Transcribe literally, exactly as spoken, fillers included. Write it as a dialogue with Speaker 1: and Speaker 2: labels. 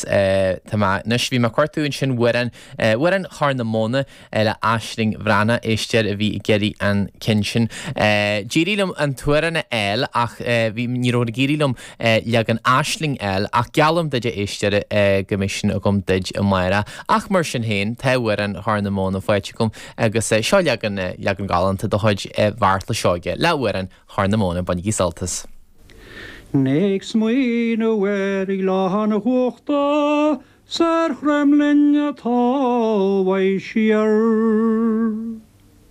Speaker 1: agus tá mé anois bhí mé ag cuartú ansin amhrán amhrán Chorr na Móna le Aisling Bhreathnach éisteoir a bhí ag iarraidh an ceann sin. D'éirigh liom an t-amhrán a fháil ach bhí ní raibh ag éirí liom leagan Aisling a fháil ach geallaim duit a éisteoir go mbeidh sin agam duit amárach. Ach mar sin féin tá amhrán Chorr na Móna faighte agam agus seo leagan leagan galánta de chuid Bheartla Seoige le amhrán Chorr na Móna bainigí sult as.
Speaker 2: Ag smaoineamh ar Ghleann Uchta 's ar Chromghlinn atá uaidh siar.